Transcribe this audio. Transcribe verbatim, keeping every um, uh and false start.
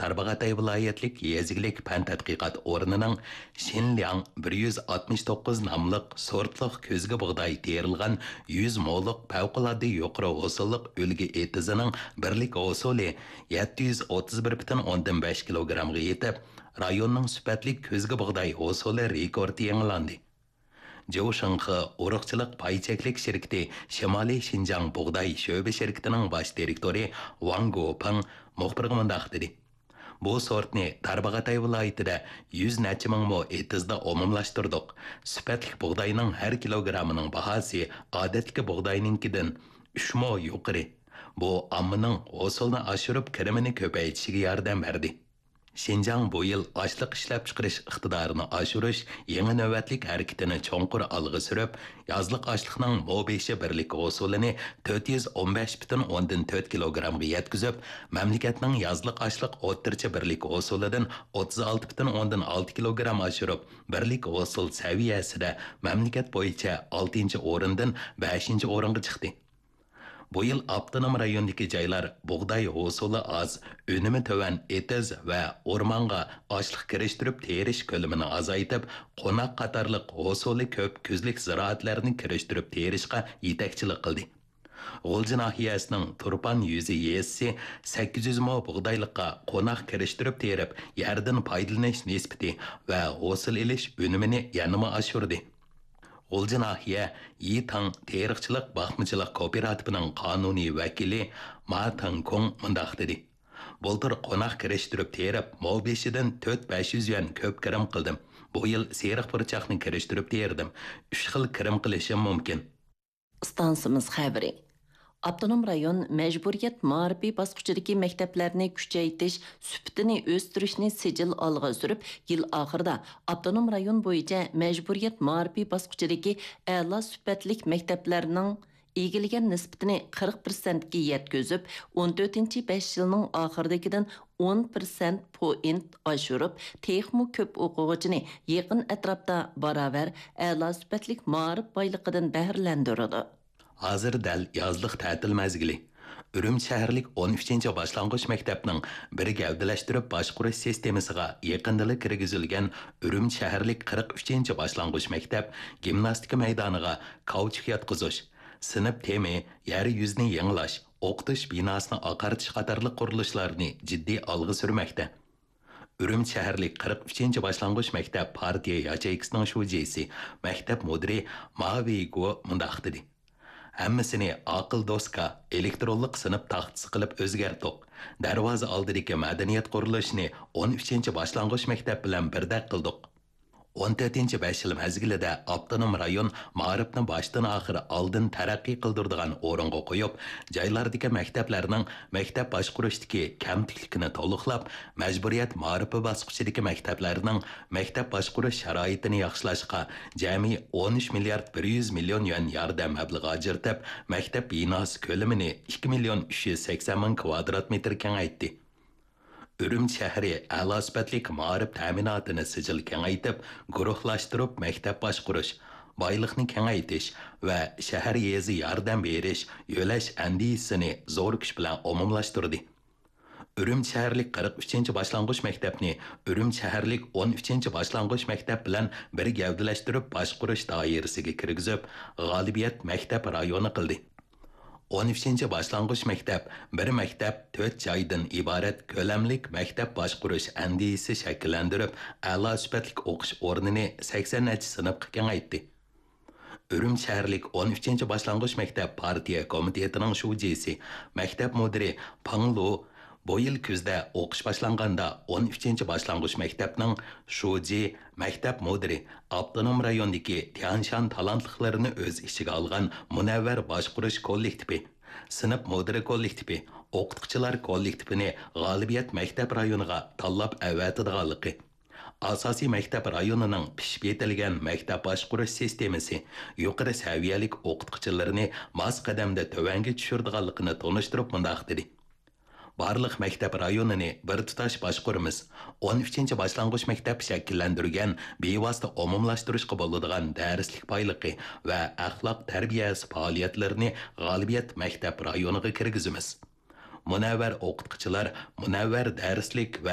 تارباغاتاي ۋىلايەتلىك يېزا ئىگىلىك پەن تەتقىقات ئورنىنىڭ شىنلياڭ بىر يۈز ئاتمىش توققۇز ناملىق سورتلۇق كۆزگە بۇغداي تېرىلغان يۈز مولۇق پەۋقۇلئاددە يۇقىرى ھوسۇللۇق ئۈلگە ئېتىزىنىڭ بىرلىك ھوسۇلى يەتتە يۈز ئوتتۇز بىر پۈتۈن ئوندىن بەش كىلوگرامغا يېتىپ، رايوننىڭ سۈپەتلىك كۆزگە بۇغداي ھوسۇلى رېكورتى يېڭىلاندى. جيۇ شېڭخې ئۇرۇقچىلىق پاي چەكلىك شىركىتى شىمالىي شىنجاڭ بۇغداي شۆبە شىركىتىنىڭ باش دىرېكتورى ۋاڭ گوپېڭ مۇخبىرغا مۇنداق دېدى: بۇ سورتنى تارباغاتاي ۋىلايىتىدە يۈز نەچچە مىڭ مو ئېتىزدا ئومۇملاشتۇردۇق. سۈپەتلىك بۇغداينىڭ ھەر كىلوگرامىنىڭ باھاسى ئادەتتىكى بۇغداينىڭكىدىن ئۈچ مو يۇقىرى. بۇ ئاممىنىڭ ھوسۇلنى ئاشۇرۇپ، كىرىمىنى كۆپەيتىشىگە ياردەم بەردى. شىنجاڭ بۇ يىل ئاشلىق ئىشلەپچىقىرىش ئىقتىدارىنى ئاشۇرۇش يېڭى نۆۋەتلىك ھەرىكىتىنى چوڭقۇر ئالغا سۈرۈپ، يازلىق ئاشلىقنىڭ مو بېشى بىرلىك ھوسۇلىنى تۆت يۈز ئون بەش پۈتۈن ئوندىن تۆت كىلوگرامغا يەتكۈزۈپ، مەملىكەتنىڭ يازلىق ئاشلىق ئوتتۇرىچە بىرلىك ھوسۇلىدىن ئوتتۇز ئالتە پۈتۈن ئوندىن ئالتە كىلوگرام ئاشۇرۇپ، بىرلىك ھوسۇل سەۋىيەسىدە مەملىكەت بويىچە ئالتىنچى ئورۇندىن بەشىنچى ئورۇنغا چىقتى. بۇ يىل ئاپتونوم رايوندىكى جايلار بۇغداي ھوسۇلى ئاز، ئۈنۈمى تۆۋەن ئېتىز ۋە ئورمانغا ئاشلىق كىرىشتۈرۈپ تېرىش كۆلىمىنى ئازايتىپ، قوناق قاتارلىق ھوسۇلى كۆپ كۈزلۈك زىرائەتلەرنى كىرىشتۈرۈپ تېرىشقا يېتەكچىلىك قىلدى. غۇلجا ناھىيەسىنىڭ تۇرپان يۈزى يېزىسى سەككىز يۈز مو بۇغدايلىققا قوناق كىرىشتۈرۈپ تېرىپ، يەردىن پايدىلىنىش نىسبىتى ۋە ھوسۇل ئېلىش ئۈنۈمىنى يەنىمۇ ئاشۇردى. غۇلجا ناھىيە يىتاڭ تېرىقچىلىق باقمىچىلىق كوپىراتىپىنىڭ قانۇنىي ۋەكىلى ما تېڭكۇڭ مۇنداق دېدى: بۇلتۇر قوناق كىرىشتۈرۈپ تېرىپ، مو بېشىدىن تۆت بەش يۈز يۈەن كۆپ كىرىم قىلدىم. بۇ يىل سېرىق پۇرچاقنى كىرىشتۈرۈپ تېرىدىم. ئۈچ خىل كىرىم قىلىشىم مۇمكىن. ئىستانسىمىز خەۋىرى. ئاپتونوم رايون مەجبۇرىيەت مائارىپى باسقۇچىدىكى مەكتەپلەرنى كۈچەيتىش سۈپىتىنى ئۆستۈرۈشنى سىجىل ئالغا سۈرۈپ، يىل ئاخىرىدا ئاپتونوم رايون بويىچە مەجبۇرىيەت مائارىپى باسقۇچىدىكى ئەلا سۈپەتلىك مەكتەپلەرنىڭ ئىگىلىگەن نىسبىتىنى قىرىق پىرسەنتكە يەتكۈزۈپ، ئون تۆتىنچى بەش يىلنىڭ ئاخىرىدىكىدىن ئون پىرسەنت پوينت ئاشۇرۇپ، تېخىمۇ كۆپ ئوقۇغۇچىنى يېقىن ئەتراپتا باراۋەر ئەلا سۈپەتلىك مائارىپ بايلىقىدىن بەھرىلەندۈرىدۇ. ھازىر دەل يازلىق تەتىل مەزگىلى. ئۈرۈمچى شەھەرلىك ئون ئۈچىنچى باشلانغۇچ مەكتەپنىڭ بىر گەۋدىلەشتۈرۈپ باشقۇرۇش سىستېمىسىغا يېقىندىلا كىرگۈزۈلگەن ئۈرۈمچى شەھەرلىك قىرىق ئۈچىنچى باشلانغۇچ مەكتەپ گىمناستىكا مەيدانىغا كاۋچۇك ياتقۇزۇش، سىنىپ تېمى، يەر يۈزىنى يېڭىلاش، ئوقۇتۇش بىناسىنى ئاقارتىش قاتارلىق قۇرۇلۇشلارنى جىددىي ئالغا سۈرمەكتە. ئۈرۈمچى شەھەرلىك قىرىق ئۈچىنچى باشلانغۇچ مەكتەپ پارتىيە ياچېيكىسىنىڭ شۇجىسى، مەكتەپ مۇدىرى ما ۋېيگو مۇنداق دېدى: ھەممىسىنى ئاقىل دوسكا، ئېلېكترونلۇق سىنىپ تاختىسى قىلىپ ئۆزگەرتتۇق. دەرۋازا ئالدىدىكى مەدەنىيەت قۇرۇلۇشىنى ئون ئۈچىنچى باشلانغۇچ مەكتەپ بىلەن بىردەك قىلدۇق. ئون تۆتىنچى بەش يىل مەزگىلىدە ئاپتونوم رايون مائارىپنى باشتىن ئاخىر ئالدىن تەرەققىي قىلدۇرىدىغان ئورۇنغا قويۇپ، جايلاردىكى مەكتەپلەرنىڭ مەكتەپ باشقۇرۇشتىكى كەمتۈكلۈكىنى تولۇقلاپ، مەجبۇرىيەت مائارىپى باسقۇچىدىكى مەكتەپلەرنىڭ مەكتەپ باشقۇرۇش شارائىتىنى ياخشىلاشقا جەمئىي ئون ئۈچ مىليارد بىر يۈز مىليون يۈەن ياردەم مەبلىغى ئاجرىتىپ، مەكتەپ بىناسى كۆلىمىنى ئىككى مىليون ئۈچ يۈز سەكسەن مىڭ كىۋادرات مېتىر كېڭەيتتى. ئۈرۈمچى شەھىرى ئەلا سۈپەتلىك مائارىپ تەمىناتىنى سىجىل كېڭەيتىپ، گۇرۇھلاشتۇرۇپ مەكتەپ باشقۇرۇش، بايلىقنى كېڭەيتىش ۋە شەھەر، يېزا ياردەم بېرىش، يۆلەش ئەندىزىسىنى زور كۈچ بىلەن ئومۇملاشتۇردى. ئۈرۈمچى شەھەرلىك قىرىق ئۈچىنچى باشلانغۇچ مەكتەپنى ئۈرۈمچى شەھەرلىك ئون ئۈچىنچى باشلانغۇچ مەكتەپ بىلەن بىر گەۋدىلەشتۈرۈپ باشقۇرۇش دائىرىسىگە كىرگۈزۈپ، غالىبىيەت مەكتەپ رايونى قىلدى. ئون ئۈچىنچى باشلانغۇچ مەكتەپ بىر مەكتەپ، تۆت جايدىن ئىبارەت كۆلەملىك مەكتەپ باشقۇرۇش ئەندىزىسى شەكىللەندۈرۈپ، ئەلا سۈپەتلىك ئوقۇش ئورنىنى سەكسەن نەچچە سىنىپقا كېڭەيتتى. ئۈرۈمچى شەھەرلىك ئون ئۈچىنچى باشلانغۇچ مەكتەپ پارتىيە كومىتېتىنىڭ شۇجىسى، مەكتەپ مۇدىرى پاڭ لۇ بۇ يىل كۈزدە ئوقۇش باشلانغاندا ئون ئۈچىنچى باشلانغۇچ مەكتەپنىڭ شۇجى، مەكتەپ مۇدىرى، ئاپتونوم رايوندىكى تيەنشان تالانتلىقلىرىنى ئۆز ئىچىگە ئالغان مۇنەۋۋەر باشقۇرۇش كوللېكتىپى، سىنىپ مۇدىرى كوللېكتىپى، ئوقۇتقۇچىلار كوللېكتىپىنى غالىبىيەت مەكتەپ رايونىغا تاللاپ ئەۋەتىدىغانلىقى، ئاساسىي مەكتەپ رايونىنىڭ پىشىپ يېتىلگەن مەكتەپ باشقۇرۇش سىستېمىسى، يۇقىرى سەۋىيەلىك ئوقۇتقۇچىلىرىنى ماس قەدەمدە تۆۋەنگە چۈشۈرىدىغانلىقىنى تونۇشتۇرۇپ مۇنداق دېدى: بارلىق مەكتەپ رايونىنى بىر تۇتاش باشقۇرىمىز. ئون ئۈچىنچى باشلانغۇچ مەكتەپ شەكىللەندۈرگەن بىۋاسىتە ئومۇملاشتۇرۇشقا بولىدىغان دەرسلىك بايلىقى ۋە ئەخلاق تەربىيەسى پائالىيەتلىرىنى غالىبىيەت مەكتەپ رايونىغا كىرگۈزىمىز. مۇنەۋۋەر ئوقۇتقۇچىلار مۇنەۋۋەر دەرسلىك ۋە